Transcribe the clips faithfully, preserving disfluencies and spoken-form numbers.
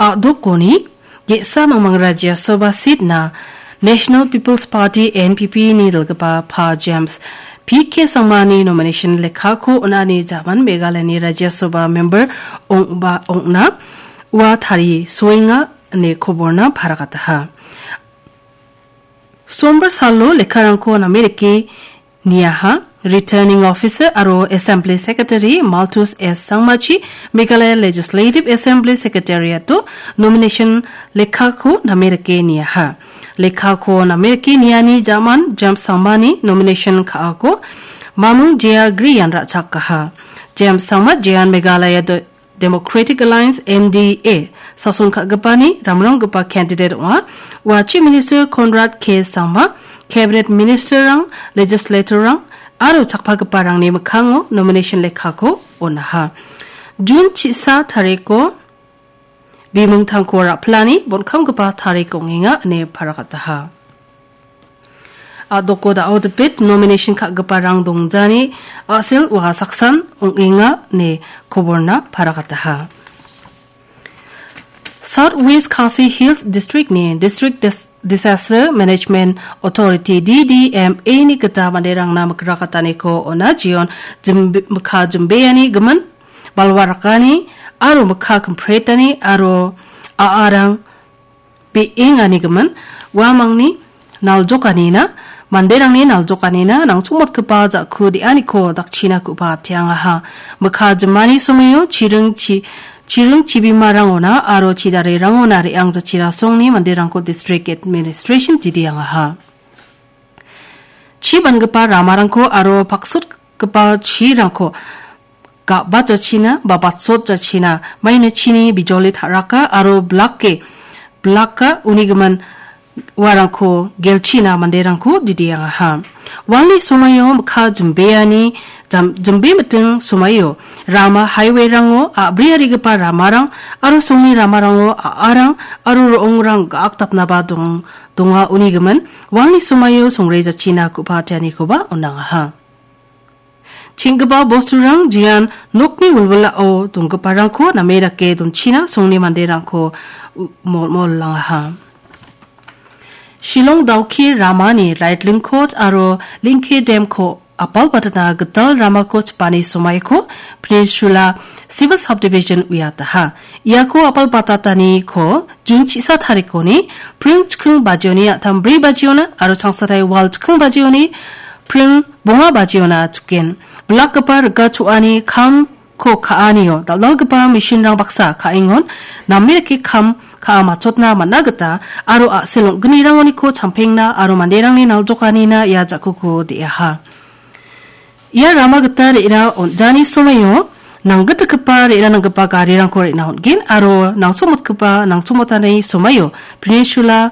A·dokoni ge·sa mangmang Rajya Sabha seat-na National People's Party, N P P-ni dilgipa Pa James P K Sangmani nomination lekkako on·ani jaman Meghalayani Rajya Sabha member ong·ba ong·na ua tari soenga ine koborna paragataha. Sombar salo lekkarangko name dake niaha. Returning Officer aro Assembly Secretary Malthus S Sangmachi Meghalaya Legislative Assembly Secretariat-o nomination lekkako name dake niaha. Lekkako name dake niani jaman James Sangmani nomination ka·ako Mamung Jaya Griyan ra·chakaha. James Sangma Jayan Meghalaya do-, Democratic Alliance, M D A, sason ka·gipani ramronggipa candidate ong·a. Ua Chief Minister Conrad K Sangma, Cabinet Ministerrang, Legislatorrang aro chakpagiparangni mikkango nomination lekkako on·aha. Jun chisa tariko bimingtangko ra·pilani bonkamgipa tarik ong·enga ine paragataha. A·doko da·o dipit nomination ka·giparang dongjani a·sel ua saksan ong·enga ine koborna paragataha. South West Khasi Hills District-ni District Dis-, Disaster Management Authority, D D M A-ni gita manderangna mikrakataniko on·a. Jeon jimbe-, mikka jimbeani gimin, balwa rakani aro mikka kimpretani aro a·arang be·engani gimin, uamangni naljokanina, manderangni naljokanina nangchongmotgipa ja·ku de·aniko dakchina ku·pa ate·angaha. Mikka jimani somoio chiring chi-, chiring chibimarangona aro chidarerangona re·ang jachirasongni manderangko District Administration didiangaha. Chi bangipa ramarangko aro paksotgipa chirangko ga·bat jachina ba batsot jachina, maina chini bijoli ta·raka aro blake, blaka uni gimin uarangko gelchina manderangko didiangaha. Walni somoio mikka jimbeani jam-, jimbe miting somoio rama highway-rango a·briarigipa ramarang aro songni ramarango a·arang aro ro·ongrang ga·akdapnaba dong-, donga uni gimin walni somoio songre jachina ku·pa ate·anikoba on·angaha. Cheng·gipa bosturang jean nokni wilwilao donggiparangko name dake donchina songni manderangko u-, mol-, molmolangaha. Shillong Dawki ramani Raitling Court aro Lingke Dam-ko apalbatna gital ramako chipani somoiko Peninsula Civil Subdivision uiataha. Iako apalbatataniko Jun chisa tarikoni pring chiking bajioni a·tam bri bajiona aro changsatai wal chiking bajioni pring bonga bajiona chiken. Blakgipa rika cho·ani kamko ka·anio dal·dalgipa machine-rang baksa ka·engon name dake kam ka·a matchotna man·a gita aro a·sel ong·gnirangoniko champengna aro manderangni naljokanina ia ja·kuko de·aha. Ia rama gita re·na on·jani somoio nanggitgipa re·na nanggipa garirangko re·na on·gen aro nangchomotgipa nangchomotani somoio Peninsula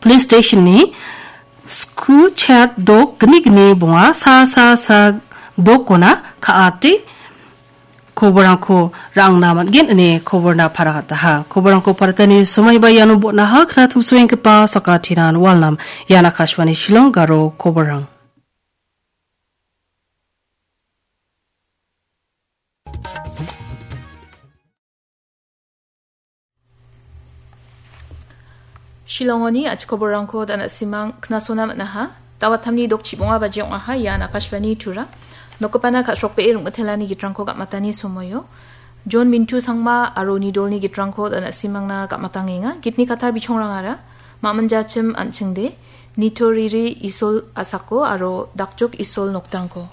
Police Station-ni sku chat dok gni gni bonga sa sa sa dokona ka·ate koborangko ra·angna man·gen ine koborna paragataha. Koborangko paratani somoiba iano botnaha knatimsoenggipa sakatinan walnam. Ian Akashvani Shillong garo koborang. Shillongoni a·chik koborrangko da·nasimang knasona man·aha. Dawatamni dokchibonga baji ong·aha ian Akashvani Tura. Nokgipana ka·srokbee rongmitelani gitrangko gam·atani somoio. John Mintu Sangma aro nidolni gitrangko da·nasimangna gam·atangenga. Gitni kata bichongrangara. Maminjachim An·chingde, Nitoriri Isol Asako aro Dakjok Isol Noktangko.